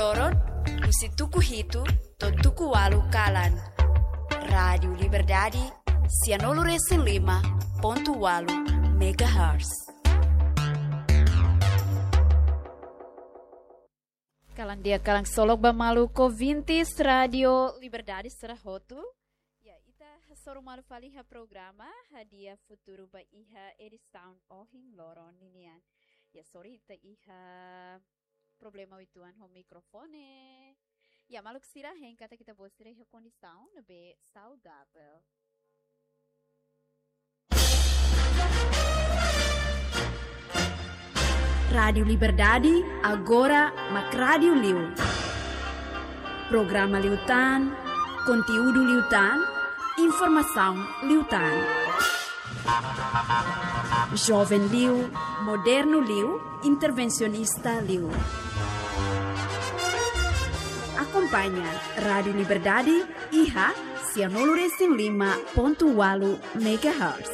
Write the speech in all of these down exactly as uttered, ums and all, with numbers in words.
Loron, husi tuku hitu to'o tuku ualu kalan. Rádiu Liberdade, sianulu resin lima pontu ualu megahertz. Kalan di'ak, kalan solok ba maluk ouvintes Rádiu Liberdade sira hotu. Ya, ita hasoru malu fali iha programa Hadi'a Futuru ba iha edisaun ohin loron ninian. Ya, sorry, ita iha problema uitoan ho mikrofone. Ya, maluk sira, hein katak ita-boot sira iha kondisaun ne'ebé saudavel. Rádiu Liberdade, agora mak rádiu liu. Programa liután, konteúdu liután, informasaun liután. Joven liu, modernu liu, intervensionista liu. Akompaña Rádiu Liberdade iha sianulu resin lima pontu ualu megahertz.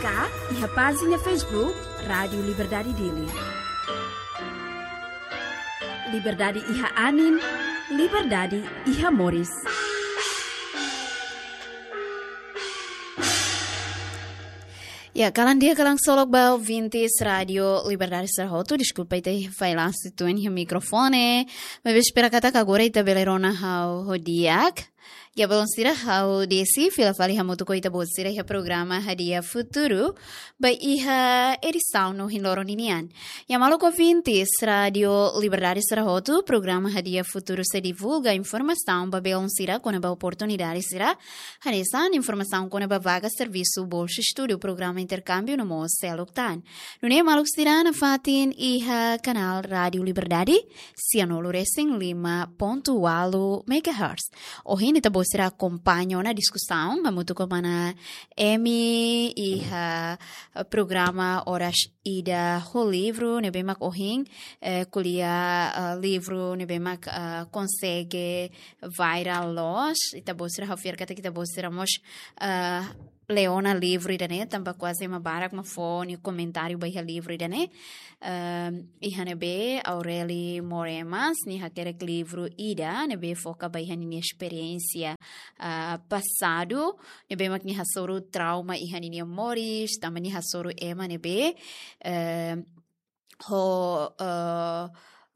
Ka iha pájina Facebook Rádiu Liberdade Dili. Liberdade iha anin, liberdade iha moris. Ya, kalan di'ak, kalan solok ba ouvintes Rádiu Liberdade sira hotu. Deskulpa, ita iha fallansu uitoan iha mikrofone. Maibé espera katak agora ita bele rona ha'u ho di'ak. Ya, maluk sira, ha'u Desi, fila fali hamutuk ho ita-boot sira iha programa Hadi'a Futuru ba iha edisaun ohin loron ninian. Ya, maluk ouvintes Rádiu Liberdade sira hotu, programa Hadi'a Futuru sei divulga informasaun ba belun sira kona-ba oportunidade sira, hanesan informasaun kona-ba vaga servisu, bolsa estudu, programa interkámbiu no mós seluk tan. Nune'e maluk sira nafatin iha kanál Rádiu Liberdade, sianulu resin lima pontu ualu megahertz. Ohin ita-boot sira akompaña ona diskusaun hamutuk ho mana Emi iha, eh, programa Oras Ida ho livru ne'ebé mak ohin, eh, ko'alia, eh, livru ne'ebé mak, eh, konsege viral loos. Ita-boot sira, ha'u fiar katak ita-boot sira mós, eh, lee ona livru ida-ne'e, tanba kuaze ema barak mak fó nia komentáriu ba iha livru ida-ne'e. Ehm, iha ne'ebé Aurélia Moremas nia hakerek livru ida ne'ebé foka ba iha ninia esperiénsia, ah, pasadu, ne'ebé mak nia hasoru trauma iha ninia moris, tanba nia hasoru ema ne'ebé, ehm, ho, eh,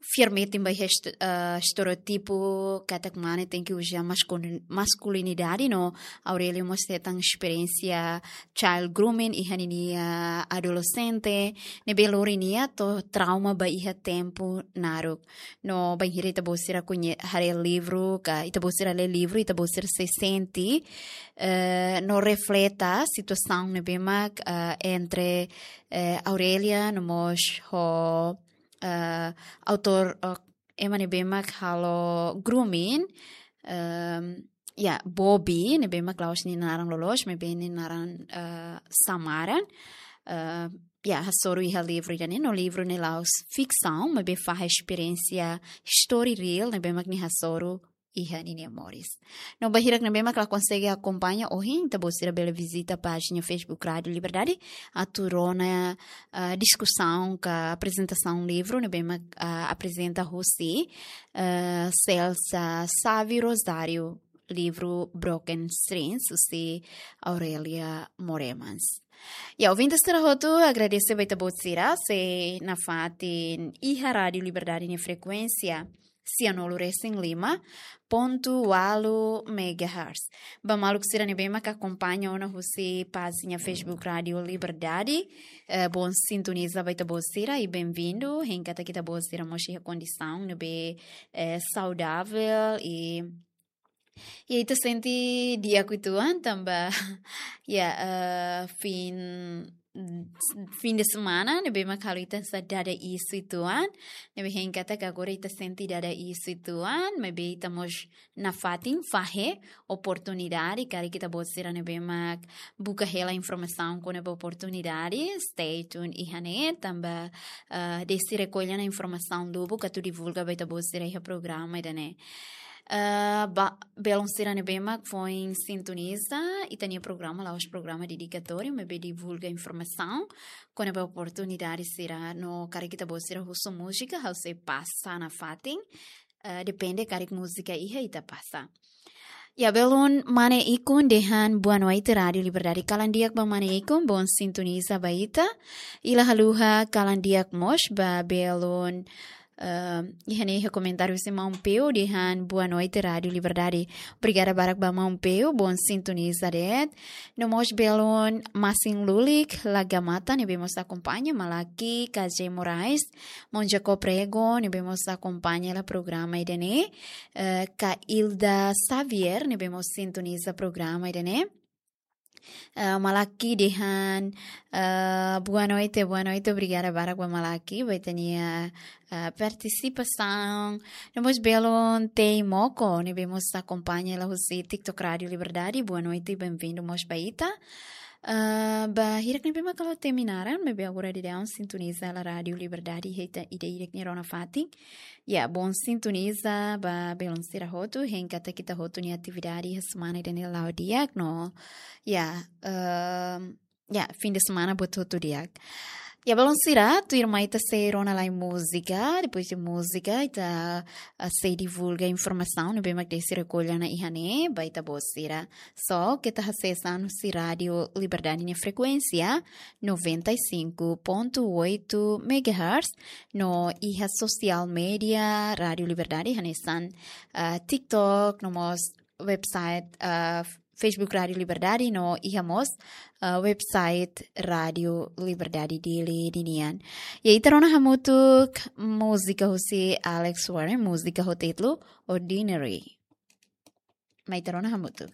fiar metin ba iha est-, eh, estereótipu katak mane tenke uza maskulin-, maskulinidade, no Aurélia mós hetan esperiénsia child grooming iha ninia adolexente, ne'ebé lori nia to'o trauma ba iha tempu naruk. No bainhira ita-boot sira koñe-, haree livru, ka ita-boot sira lee livru, ita-boot sira sei sente, eh, no refleta situasaun ne'ebé mak, eh, entre, eh, Aurélia no mós ho, eh, autór, eh, ema ne'ebé mak halo grooming, ehm, ya, Bobby, ne'ebé mak la'ós nia naran loloos, maibé nia naran, eh, samaran. Eh, ya, hasoru iha livru ida-ne'e, no livru ne'e la'ós fiksaun, maibé fahe esperiénsia, story real, ne'ebé mak nia hasoru iha ninia moris. No ba hirak ne'ebé mak la konsege akompaña ohin, ita-boot sira bele vizita pájina Facebook Rádiu Liberdade, atu rona, ah, diskusaun ka aprezentasaun livru ne'ebé mak, ah, aprezenta husi, ah, Celsa Savi Rosário, livru Broken Strings, husi Aurélia Moremas. Ya, ouvintes sira hotu, agradese ba ita-boot sira sei nafatin iha Rádiu Liberdade nia frekuénsia, sianulu resin lima pontu ualu megahertz. Ba maluk sira ne'ebé mak akompaña ona husi pájina Facebook Rádiu Liberdade, eh, bom sintoniza ba ita-boot sira i bem-vindo. Hein katak ita-boot sira mós iha kondisaun ne'ebé, eh, saudavel i, i ita sente di'ak uitoan tanba, ya, eh, fin fin de semana, ne'ebé mak halo ita hanesan dada iis uitoan, ne'ebé hein katak agora ita sente dada iis uitoan, maibé ita mós nafatin fahe oportunidade, karik ita-boot sira ne'ebé mak buka hela informasaun kona-ba oportunidade, stay tuned iha ne'e, tanba, ah, Desi rekolla ona informasaun lubuk atu divulga ba ita-boot sira iha programa ida-ne'e. Eh, ba, belun sira ne'ebé mak foin sintoniza ita-nia programa, la'ós programa dedikatóriu, maibé divulga informasaun kona-ba oportunidade sira no karik ita-boot sira husu múzika, ha'u sei pasa nafatin. Eh, depende karik múzika iha ita pasa. Ya, belun mane ikun dehan boa noite Rádio Liberdade. Kalan di'ak ba mane ikun, bom sintoniza ba ita. I la haluha kalan di'ak mós ba belun, eh, iha ne'e iha komentáriu husi maun Peu dehan boa noite Rádio Liberdade. Obrigada barak ba maun Peu, bom sintoniza de'it. No mós belun Masin Lulik, Lagamata, ne'ebé mós akompaña, Malaki, K J Moraes, maun Jacob Rego, ne'ebé mós akompaña hela programa ida-ne'e, eh, Ka Ilda Xavier, ne'ebé mós sintoniza programa ida-ne'e. Eh, Malaki dehan, eh, boa noite, boa noite, obrigada barak ba Malaki, ba ita-nia, eh, partisipasaun. No mós belun Tei Moko, ne'ebé mós akompaña hela husi TikTok Rádio Liberdade, boa noite, bem-vindo mós ba ita. Eh, ba hirak ne'ebé mak halo temi naran, maibé agora daudaun sintoniza hela Rádio Liberdade, iha ita ida-idak nia rona fatin. Ya, bom sintoniza ba belun sira hotu, hein katak ita hotu nia atividade iha semana ida-ne'e la'o di'ak no. Ya, ehm, ya, fim de semana buat hotu di'ak. Ya, belun sira, tuirmai ita sei rona lai múzika, depois de múzika, ita, ah, sei divulga informasaun ne'ebé mak desi rekolla ona iha ne'e, ba ita-boot sira. Só keta hasees an husi Rádio Liberdade nia frekuénsia, noventa e cinco ponto oito megahertz, no iha sosiál média Rádio Liberdade, hanesan, ah, TikTok, no mós website, ah, Facebook Rádio Liberdade, no iha mós, ah, website Rádio Liberdade Dili ninian. Ya, ita rona hamutuk múzika husi Alex Warren, múzika ho títulu Ordinary. Mai ita rona hamutuk.